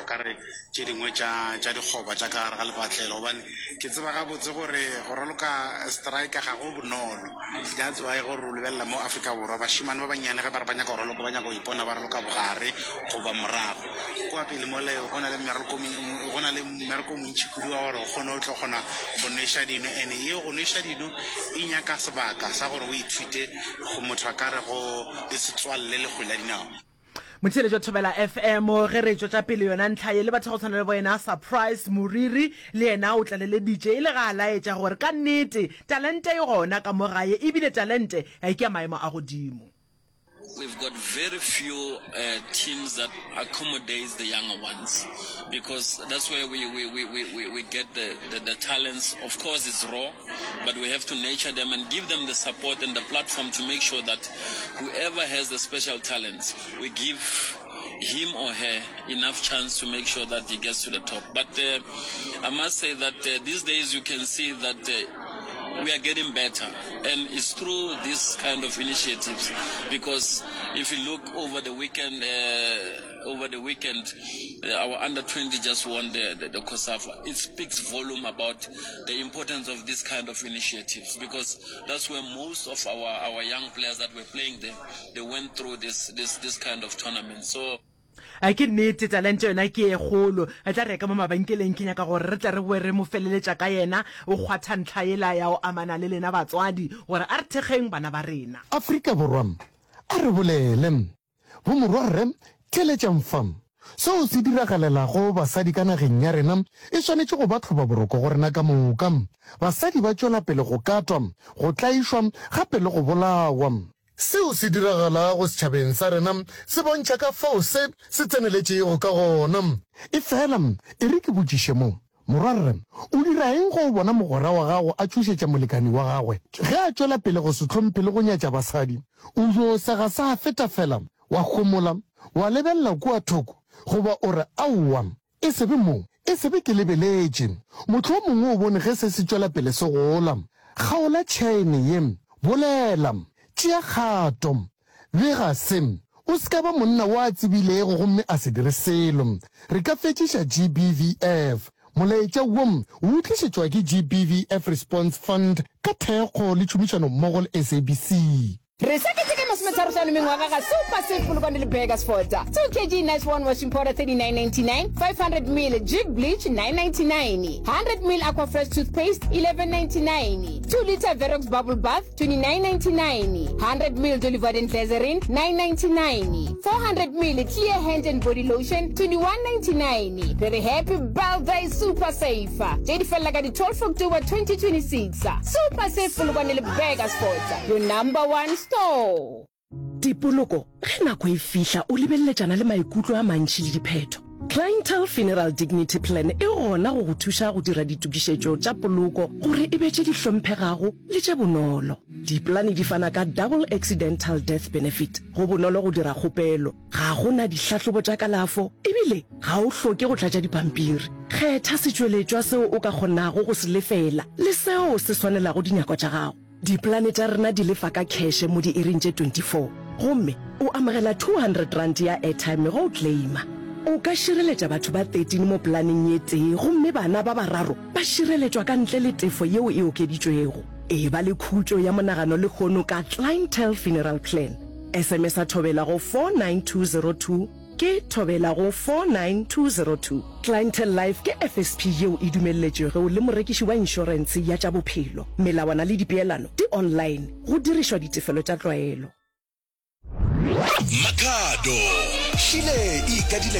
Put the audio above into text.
ka re tše dingwe tša tša dikgoba tša ka gare ga lepatlelo gobane ke tseba gabotse gore go raloka striker ga go bonolo. That's why gore o lebelela mo Afrika Borwa bašemane ba bannyane ge ba re ba nyaka go raloka ba nyaka go ipona ba raloka bogare goba morago. Kua pele mole go na le mmereko go na le mmereko o montši kudu wa gore o kgone o tlo kgona go nweša dino and yeo go nweša dino e nyaka sebaka sa gore o ithute go motho a ka re go le setswalle le kgwele ya dinao. Motheeletši wa Thobela FM, ge re tšwetša pele yona ntlha ye le batho go tshwana le bo yena Surprise Moriri le yena o tlaleleditše e le ga a laetša gore ka nnete talente e gona ka mo gae ebile talente ke ya maemo a godimo. We've got very few uh, teams that accommodates the younger ones because that's where we, we, we, we, we get the, the, the talents. Of course, it's raw, but we have to nurture them and give them the support and the platform to make sure that whoever has the special talents, we give him or her enough chance to make sure that he gets to the top. But uh, I must say that uh, these days you can see that uh, we are getting better, and it's through this kind of initiatives. Because if you look over the weekend, uh, over the weekend, uh, our under 20 just won the, the, the COSAFA. It speaks volume about the importance of this kind of initiatives because that's where most of our, our young players that were playing there, they went through this, this, this kind of tournament. So A ke nnete, talente yona ke ye kgolo. Re tla reka mo mabenkeleng, ke nyaka gore re tle re boe re mo feleletša ka yena. O kgwatha ntlha yela ya go amana le lena batswadi, gore a re thekgeng bana ba rena. Afrika Borwa, a re bolele. Bomorwarre, theeletšang fa. Seo se diragalelago basadi ka nageng ya rena e swanetše go ba tlhobaboroko go rena ka moka. Basadi ba tšwela pele go katwa, go tlaišwa gape le go bolawa. Seo se diragalago setšhabeng sa rena se bontšha ka fao se se tseneletšego ka gona. Efela e re ke botšiše mo, Morwarre, o dira eng ge o bona mogwera wa gago a tšhošetša molekani wa gagwe? Ge a tšwela pele go se hlomphe le go nyatša basadi, o yo sega sa feta fela, wa homola, wa lebelela kua thoko, goba o re, Aowa, E se be mo, e se be ke lebeletše. Mohlomongwe o bone ge se se tšwela pele se gola. Kgaola tšhaene ye. Bolela. Tšea kgato. Bega se. O se ka ba monna wo a tsebilego gomme a se dire selo. Re ka fetšiša GBVF. Molaetša wo o tlišetšwa ke GBVF Response Fund ka thekgo le tšhomišanommogo le SABC. Re sa keteka masometharo-hlano mengwaga ga Super Save Polokwane le Burgersfort. 2 kg Nice One Washing Powder 39.99, 500 ml Jik Bleach 9.99, 100 ml Aquafresh Toothpaste 11.99, 2 litre Verox Bubble Bath 29.99, 100 ml Dolly Varden Glycerin 9.99, 400 ml Clear Hand and Body Lotion 21.99. Re re Happy Birthday Super Save! Tše di felela ka di 12 October 2026. Super Save Polokwane le Burgersfort, your number one store. Dipoloko, Ge nako e fihla o lebeleletšana le maikutlo a mantši le diphetho. Clientele Funeral Dignity Plan e gona go go thuša go dira ditokišetšo tša poloko gore e be tše di hlomphegago le tše bonolo. Dipolane di fana ka Double Accidental Death Benefit. Go bonolo go dira kgopelo, ga go na dihlahlobo tša kalafo ebile ga o hloke go tlatša dipampiri. Kgetha setšweletšwa seo o ka kgonago go se lefela le seo se swanelago dinyakwa tša gago. Dipolane tša rena di lefa ka kheše mo diiring tše 24 gomme o amogela R200 ya airtime ge o claima. O ka šireletša batho ba 13 mo polaneng ye tee gomme bana ba bararo ba šireletšwa ka ntle le tefo yeo e okeditšwego. Eba le khutšo ya monagano lehono ka Clientele Funeral Plan. SMS-a Thobela go 49202. Ke Thobela go 49202. Clientele Life ke FSP yeo e dumelletšwego le morekiši wa inšorentshe ya tša bophelo. Melawana le dipeelano di online go dirišwa ditefelo tša tlwaelo. Makhado, Šile e ikadile.